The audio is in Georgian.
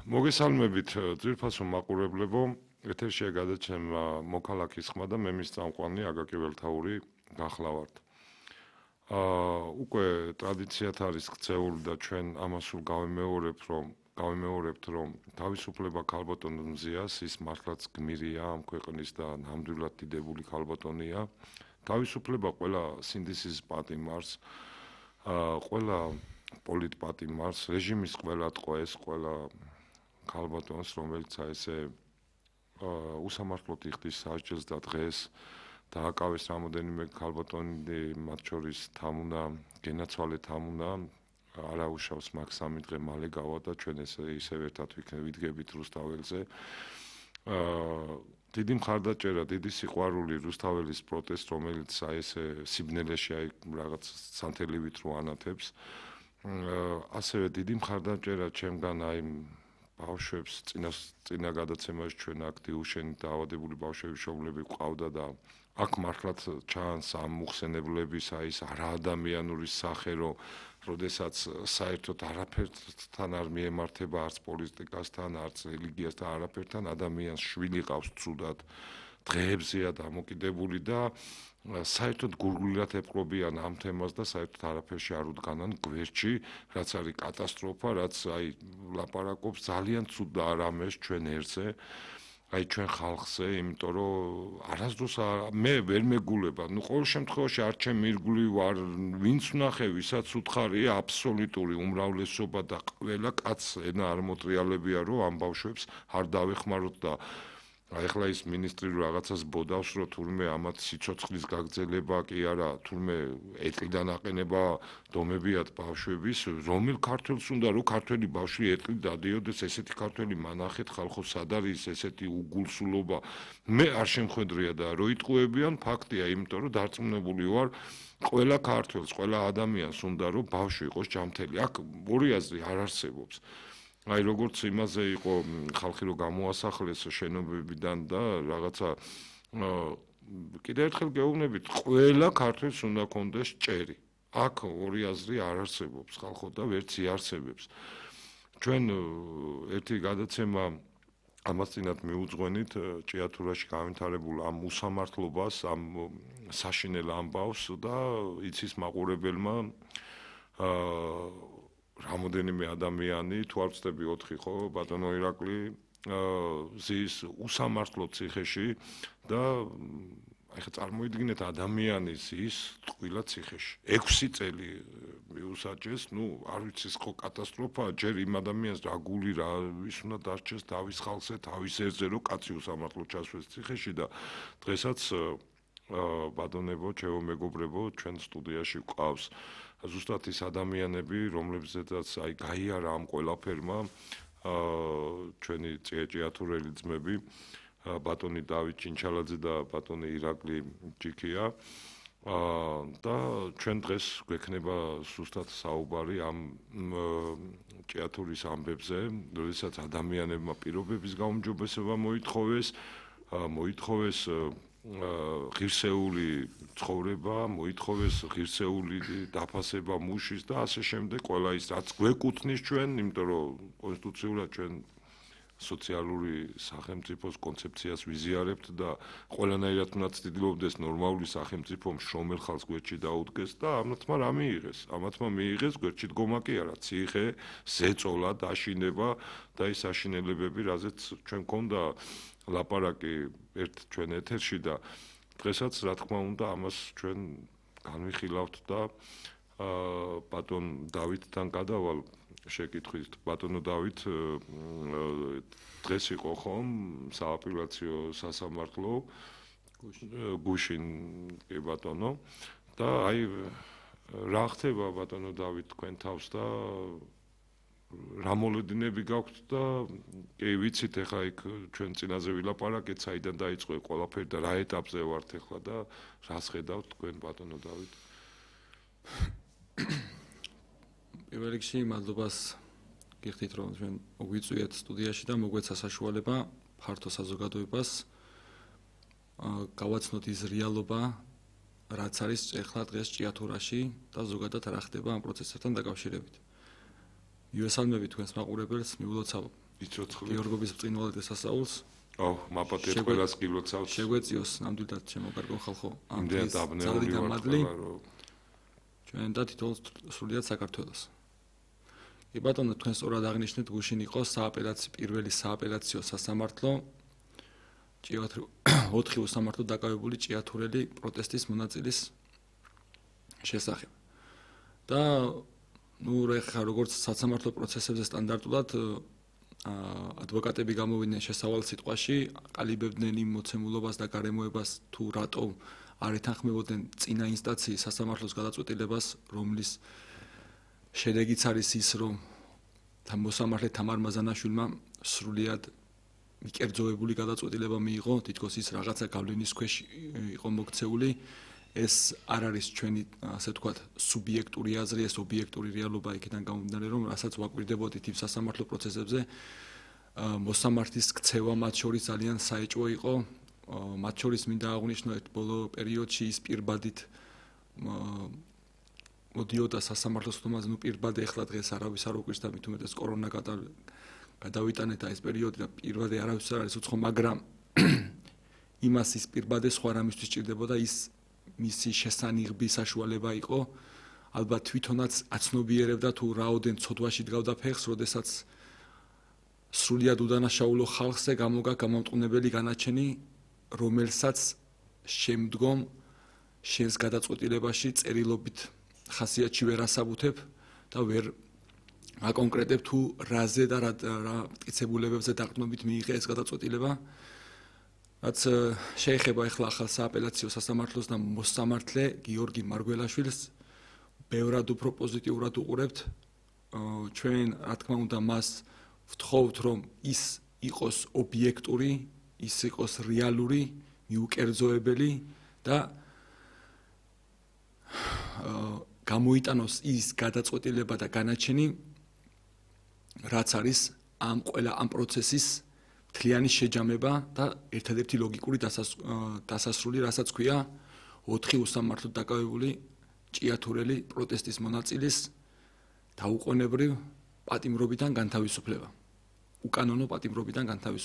მოგესალმებით ძვირფასო მაყურებლებო, ეთერშია გადაცემა მოქალაქის ხმა და მე მის წამყვანი აგაკი ველთაური გახლავართ. უკვე ტრადიციად არის ქცეული და ჩვენ ამას სულ გავიმეორებთ, რომ თავისუფლება ქალბატონ მზიას ის მართლაც გმირია ამ ქვეყნის და ნამდვილად დიდებული ქალბატონია. თავისუფლება ყველა სინდისის პატიმარს, ყველა პოლიტპატიმარს, რეჟიმის ყველა ტყვეს, ყველა ქალბატონს, რომელიც ესე უსამართლოდ იხდის სასჯელს და დღეს დააკავეს რამოდენიმე ქალბატონი, მათ შორის თამუნა, გენაცვალე თამუნა, არა უშავს მაგ 3 დღე მალე გავა და ჩვენ ისევ ერთად ვიდგებით რუსთაველზე. დიდი მხარდაჭერა, დიდი სიყვარული რუსთაველის პროტესტ, რომელიც ესე სიბნელეში რაღაც სანთელივით რო ანათებს. ასევე დიდი მხარდაჭერა ჩემგან ბავშვებს წინა გადაცემაში ჩვენ აქ დიუშენით დაავადებული ბავშვების შობლები ყავდა და აქ მართლაც ჩანს ამ მოხსენებლების ის არაადამიანური სახე, როდესაც საერთოდ არაფერთან არ მიემართება არც პოლიტიკასთან, არც რელიგიასთან, არაფერთან ადამიანს შვილი ყავს ცუდად, დღეებზეა დამოკიდებული და საერთოდ გურგლილად ეპყრობიან ამ თემას და საერთოდ არაფერში არ უდგანან გვერდში, რაც არის კატასტროფა, რაც ლაპარაკობს ძალიან ცუდ და არამეს ჩვენ ერთზე, ჩვენ ხალხზე, იმიტომ რომ არასდროს მე ვერ მეგულება, ყოველ შემთხვევაში არ ჩემი ირგვლივ ვარ, ვინც ვნახე, ვისაც უთხარია აბსოლუტური უმრავლესობა და ყველა კაცს ენა არ მოტრიალებია, რომ ამ ბავშვებს არ დავეხმაროთ და ახლა ის მინისტრი რაღაცას ბოდავს, რომ თურმე ამათ სიცოცხლის გაგრძელება კი არა, თურმე ეტლიდან აყენება დომებიათ ბავშვების, რომელ ქართველს უნდა რომ ქართველი ბავშვი ეტლი დადიოდეს, ესეთი ქართველი მანახეთ ხალხო სად არის ესეთი უგულსულობა. მე არ შემხედრია და რო იტყუებიან ფაქტია, იმიტომ რომ დარწმუნებული ვარ ყველა ქართველს, ყველა ადამიანს უნდა რომ ბავშვი იყოს ჯანმრთელი. აქ ორი აზრი არ არსებობს. როგორც იმაზე იყო ხალხი რომ გამოასახლეს შენობებიდან და რაღაცა კიდევ ერთხელ გეუბნებით, ყველა ქართველს უნდა კონდეს ჭერი. აქ ორი აზრი არ არსებობს ხალხო და ვერც იარსებებს. ჩვენ ერთი გადაცემა ამას წინათ მიუძღვენით ჭიათურაში გავითარებულ ამ უსამართლობას, ამ საშინელ ამბავს და იცის მაყურებელმა რამოდენიმე ადამიანი თუ არ ვწდები 4 ხო ბატონო ირაკლი ზის უსამართლო ციხეში და ახლა წარმოიდგინეთ ადამიანის ის ტყუილა ციხეში 6 წელი მიუსაჯეს, არ ვიცი ხო კატასტროფაა, ჯერ იმ ადამიანს რა გული რა ის უნდა დარჩეს თავის ხალხზე, თავის ერთზე რომ კაცი უსამართლო ჩასვეს ციხეში და დღესაც ბატონებო, ჩემო მეგობრებო, ჩვენ სტუდიაში ვყავს ზუსტად ის ადამიანები, რომლებზედაც გაიარა ამ ყველაფერმა ჩვენი ჭიათურელი ძმები, ბატონი დავით ჩინჩალაძე და ბატონი ირაკლი ჯიქია და ჩვენ დღეს გვექნება სუსტად საუბარი ამ ჭიათურის ამბებზე, როდესაც ადამიანებმა პირობების გაუმჯობესება მოითხოვეს ღირსეული ცხოვრება, მოითხოვეს ღირსეული დაფასება მუშის და ასე შემდეგ, ყველა ის რაც გვეკუთვნის ჩვენ, იმიტომ რომ კონსტიტუციურად ჩვენ სოციალური სახელმწიფოს კონცეფციას ვიზიარებთ და ყველანაირად უნდა ცდილობდეს ნორმალური სახელმწიფო მშრომელ ხალხს გვერდში დაუდგეს და ამათმა რა მიიღეს? ამათმა მიიღეს გვერდში დგომა კი არა, ციხე, ზეწოლა, დაშინება და ის აშინელებები, რაზეც ჩვენ გქონდა ლაპარაკი ჩვენ ეთერში და დღესაც რა თქმა უნდა ამას ჩვენ განვიხილავთ და ბატონ დავითთან გადავალ შეკითხვით. ბატონო დავით დღეს იყო ხომ სააპელაციო სასამართლო გუშინ კი ბატონო და რა ხდება ბატონო დავით თქვენ თავს და რა მოლოდინები გაქვთ და კი ვიცით ახლა იქ ჩვენ წინაზე ვილაპარაკეთ, საიდან დაიწყო ყველაფერი და რა ეტაპზე ვართ ახლა და რას ხედავთ თქვენ ბატონო დავით? პირველ რიგში მადლობას გიხდით რომ ჩვენ მოგვიწვიეთ სტუდიაში და მოგვეცა საშუალება ფართო საზოგადოებას გავაცნოთ ის რეალობა, რაც არის ახლა დღეს ჭიათურაში და ზოგადად რა ხდება ამ პროცესებთან დაკავშირებით. მივესალმები თქვენს მაყურებელს, მიულოცავ იცოცხლით. გიორგობის ბრწყინვალე დასასაულს. მაპატიეთ ყველას გილოცავთ. შეგვეციოს ნამდვილად შემოგარგო ხალხო. იმდენად დაბნეული ვართ ყველა, რომ ჩვენ და თითოეულ სრულიად საქართველოს. კი ბატონო, თქვენ სწორად აღნიშნეთ, გუშინ იყო პირველი სააპელაციო სასამართლო 4 უსამართლოდ დაკავებული ჭიათურელი პროტესტის მონაწილის შესახებ. და როგორც სასამართლო პროცესებზე სტანდარტულად ადვოკატები გამოვიდნენ შესავალ სიტყვაში, ყალიბებდნენ იმ მოცემულობას და გარემოებას თუ რატო არ ეთანხმებოდნენ წინა ინსტანციის სასამართლოს გადაწყვეტილებას, რომლის შედეგიც არის ის, რომ მოსამართლე თამარ მაზანაშვილმა სრულიად მიკერძოებული გადაწყვეტილება მიიღო, თითქოს ის რაღაცა გავლენის ქვეშ იყო მოქცეული. ეს არ არის ჩვენი, ასე ვთქვათ, სუბიექტური აზრი, ეს ობიექტური რეალობა იქიდან გამომდინარე, რომ რასაც ვაკვირდებოდით იმ სასამართლო პროცესებზე, მოსამართლის ქცევა მათ შორის ძალიან საეჭვო იყო. მათ შორის მინდა აღვნიშნო ერთ ბოლო პერიოდში ის პირბადით მოდიოდა სასამართლოს ხდომაზე, პირბადე ახლა დღეს არავის არ უკვირს და მით უმეტეს კორონა გადავიტანეთ და ეს პერიოდი და პირბადე არავის არ არის უცხო, მაგრამ იმას ის პირბადე სხვა რამისთვის ჭირდებოდა, ის მისი შესანიღბი საშუალება იყო. ალბათ თვითონაც აცნობიერებდა თუ რაოდენ ცოდვაში დგავდა ფეხს, როდესაც სრულიად უდანაშაულო ხალხზე გამოგა გამამტყუნებელი განაჩენი, რომელსაც შემდგომ შენს გადაწყვეტილებაში წერილობით ხასიათში ვერ ასაბუთებ და ვერ აკონკრეტებ თუ რაზე და რა მტკიცებულებებზე დაყრდნობით მიიღე ეს გადაწყვეტილება. რაც შეეხება ახლა ახალ სააპელაციო სასამართლოს და მოსამართლე გიორგი მარგველაშვილს, ბევრად უფრო პოზიტიურად უყურებთ. ჩვენ, რა თქმა უნდა, მას ვთხოვთ, რომ ის იყოს ობიექტური, ის იყოს რეალური, მიუკერძოებელი და გამოიტანოს ის გადაწყვეტილება და განაჩენი, რაც არის ამ პროცესის მთლიანი შეჯამება და ერთადერთი ლოგიკური დასასრული, რასაც ქვია 4 უსამართლოდ დაკავებული ჭიათურელი პროტესტის მონაწილის დაუყოვნებრივ პატიმრობიდან განთავისუფლება. უკანონო პატიმრობიდან განთავისუფლება.